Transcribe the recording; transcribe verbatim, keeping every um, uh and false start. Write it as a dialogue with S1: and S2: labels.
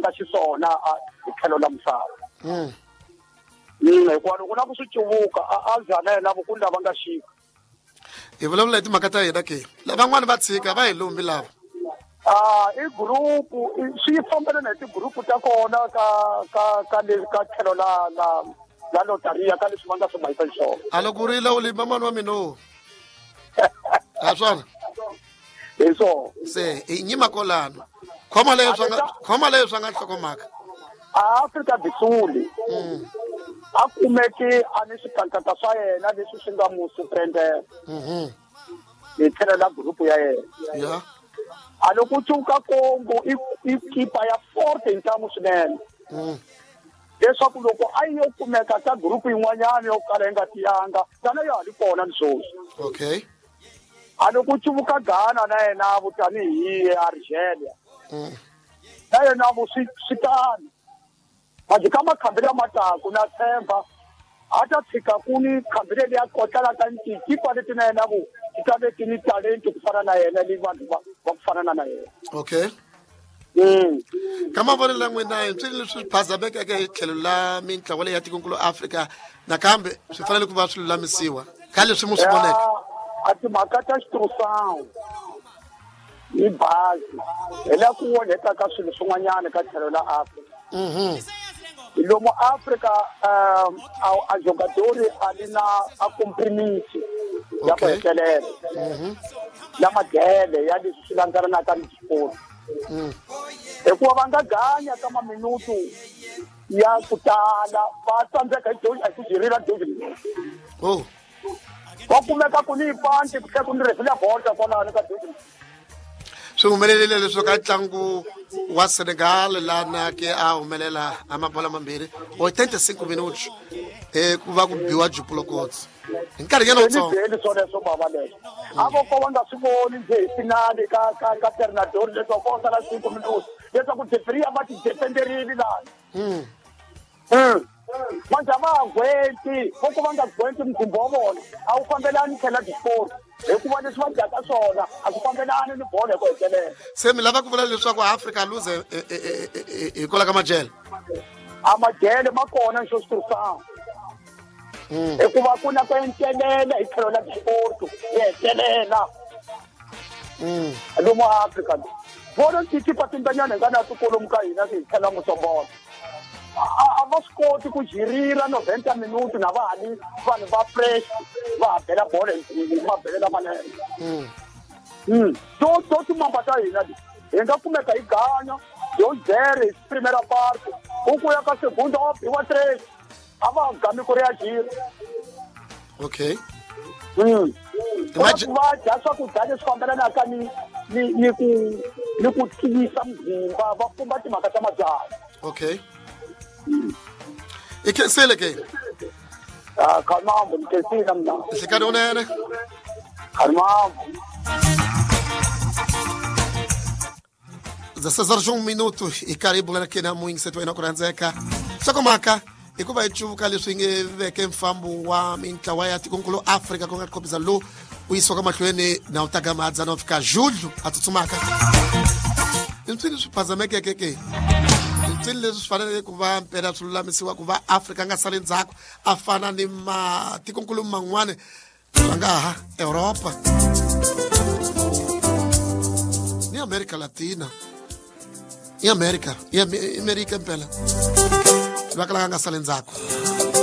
S1: nga xiswona hi tlhelo la misava.
S2: Mm.
S1: Mm, hikuva loko na ku swi cuvuka a za na yena vukulu lava nga xika.
S2: Hi vulavula hi timhaka ta hina ke. Lavan'wana va tshika va hi lumbi lava.
S1: Ah, i group swi fambelana hi ti-group ta kona ka ka ka le ka tlhelo la la la lotaria ka leswi va nga swi mahisa xiswona.
S2: A loko u rila u limba mani wa mina o. A swona?
S1: Hi swona.
S2: Se i nyima kolano. Khoma leyo swa nga khoma leyo swa nga nhlokomhaka.
S1: A Afrika do Sul.
S2: Mm.
S1: A kumeke a ni swikankata swa yena leswi swi nga mu surprendela.
S2: Mhm.
S1: Hi tlhelo la group ya yena.
S2: Yeah.
S1: A loko u cuvuka Congo i i kipa ya forte ntamu swinene.
S2: Mm.
S1: Leswaku loko a yo kumeka ka group yin'wanyana yo kala yi nga tiyanga tana ya ha ri kona ni sweswi.
S2: Okay.
S1: A loko u cuvuka Ghana na yena vo tanihi Algeria.
S2: Mm.
S1: Na yena vo swi swi tano. Manje ka makhambi lama taka na tshemba a ta tshika ku ni khambi leri ya kotlaka tikipa leti na yena vo ti ta ve ti ni talent ku fana na yena ni vanhu va va ku fana na yena.
S2: Okay.
S1: Mm.
S2: Ka mavonelo ya n'wina hi swilo leswi phazamekeke hi tlhelo la mintlawa leyi ya tikonkulu Afrika nakambe swi fanele ku va swi lulamisiwa ka leswi mu swi voneke.
S1: A timhaka ta xitirhisano ni bazi hi la ku onheka ka swilo swin'wanyana ka tlhelo la Afrika.
S2: Mhm.
S1: Lomu Afrika um a a jogadori a li na a compromise ya ku
S2: Okay.
S1: hetelela.
S2: Mhm.
S1: Ya madele ya leswi swi landzelanaka ni xiporo.
S2: Mm.
S1: Hikuva va nga ganya ka maminutu ya ku tala va tsandzeka hi hi ku jirila dozi.
S2: Oh.
S1: Va kumeka ku ni panti ku tlhela ku ni refila bolo kwalano ka dozi.
S2: Swi humelerile leswi ka ntlangu wa Senegal lana ke a humelela a mabola mambirhi oitenta e cinco minutos eh ku va ku biwa Jupulokotsi hi nkarhinyana wutsongo.
S1: Byeli swoleswo bava leswo. A vo ko va nga swi voni njhe hi finale ka ka ka Ternador leswaku ko sala cinco minutos leswaku referee a va ti defenderile lani.
S2: Mm.
S1: Mm. Manje a va ha gweti vo ko va nga gweti muzimba wa vona a wu fambelani tlhela disport hikuva leswi va dyaka swona a swi fambelani ni bolo hi ku hetelela.
S2: Se mi lava ku vula leswaku Afrika lose hikwalaho ka majele?
S1: A majele ma kona ni xo swi.
S2: Mm.
S1: Hikuva ku na ku encelela hi tlhelo la disport yi hetelela.
S2: Mm.
S1: Lomu Afrika vona tikipa timbanyana hi nga na tikolomu ka hina hi tlhela Mosombolo. A va swi koti ku jirila noventa minuto na va ha li vanhu va fresh va ha bela bolo hi mabele lamanene.
S2: Mm.
S1: Mm. To to timamba ta hina leti hi nga kumeka hi ganya yo zero hi primera parte u ku ya ka segunda wa biwa tres a va gami ku reagir.
S2: Okay.
S1: Mm.
S2: Imagine
S1: va dya swakudya leswi fambelanaka ni ni ni ku ni ku tiyisa muzimba va pumba timhaka ta mabyalwa.
S2: Okay. I khensile ke?
S1: Ah, khanambo ni khensile mina.
S2: Nhlikani unene.
S1: Khanambo.
S2: dezesseis horas e um minuto e karibu lana ke na muingi setu ina kuranzeka. Nhlokomhaka hikuva hi cuvuka leswi nge veke mfambo wa mintlawa ya tikonkulu Afrika ku nga khobisa lowu u yisiwaka mahlweni na u taka madzana u fika julho a tsutsumaka. I mpsini swi phazamekeke ke? Mpsini leswi swi faneleke ku va mpela swi lulamisiwa ku va Afrika nga sali ndzhaku a fana ni matikonkulu man'wana swa nga ha Europa ni Amerika Latina i Amerika i Amerika mpela va kalaka nga sali ndzhaku.